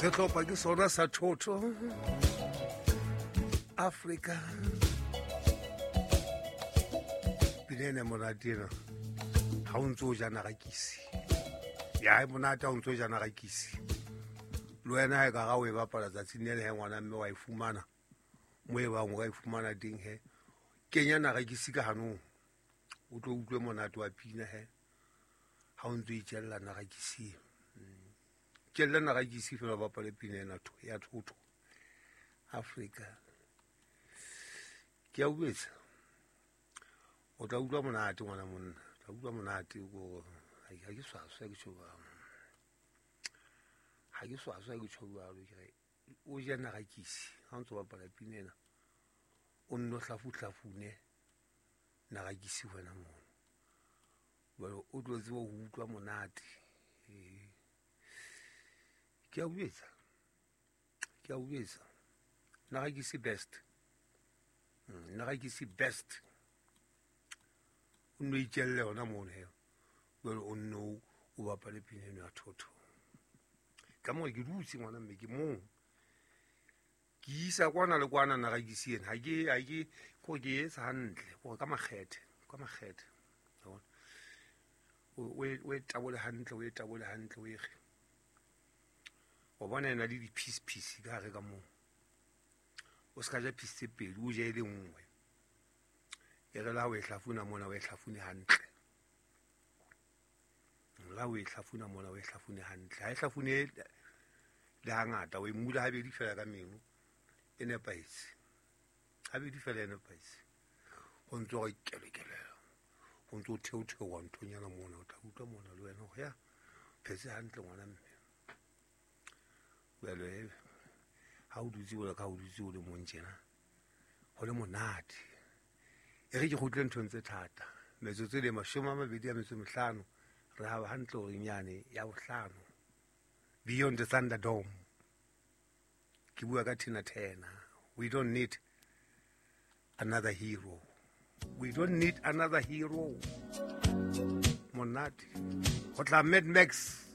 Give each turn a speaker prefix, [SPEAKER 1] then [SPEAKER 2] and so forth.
[SPEAKER 1] Sehlopha ke sona sa Thotho Africa. Pina ena e monate ena ha o ntse o ja narakisi. Ya e monate ha o ntse o ja narakisi. Le wena ha e ka ga o e bapala tsatsing le le he ngwana mme wa e fumana. Mo e bang o ka e fumana teng he. Kenya narakisi ka hanong. O tlo utlwe monate wa pina he. Ha o ntse o itjella narakisi. Tjella narakisi fela o bapale pina ena ya Thotho Africa. Ke a utlwetsa. O tla utlwa monate ngwana monna. O tla utlwa monate ko ha ke swaswa ke tjho jwalo. Ha ke swaswa ke tjho jwalo ke re o je narakisi ha o ntso bapala pina ena. O nno hlafuhlafune narakisi wena mono. Jwale o tlo tseba ho utlwa monate. Ke a uetsa. Ke a uetsa. Narakisi best. Narakisi best. O nno itjelle yona mono he. Jwale o nno o bapale pina eno ya Thotho. Ka moo ke dutse ngwana mme ke mong. Ke isa kwana le kwana narakisi ena. Ha ke, ha ke, ko ke etsa hantle, ko ka makgethe, ka makgethe. Wa bona? O e tabole hantle, o e tabole hantle, o e re. Wa bona ena le di-piece piece ka hare ka moo. O ska ja piece tse pedi, o je e le nngwe. E re la o e hlafuna mona, o e hlafune hantle. La o e hlafuna mona, o e hlafune hantle. Ha e hlafune le hangata, o e mula habedi fela ka meno, e nepahetse. Habedi fela e nepahetse. Ho ntso re kele kele. Ho ntso theotheoha nthonyana mona, o tla utlwa mona le wena hore ya phetse hantle ngwana mme. Jwale ha o dutse jwalo ka ha o dutse o le mong tjena, ho le monate. E re ke kgutle nthong tse thata. Metsotso e le 25, re haba hantle hore nyane ya bohlano. Beyond the Thunderdome. Ke bua ka Tina Turner. We don't need another hero. We don't need another hero. Monate. Ho tla Mad Max.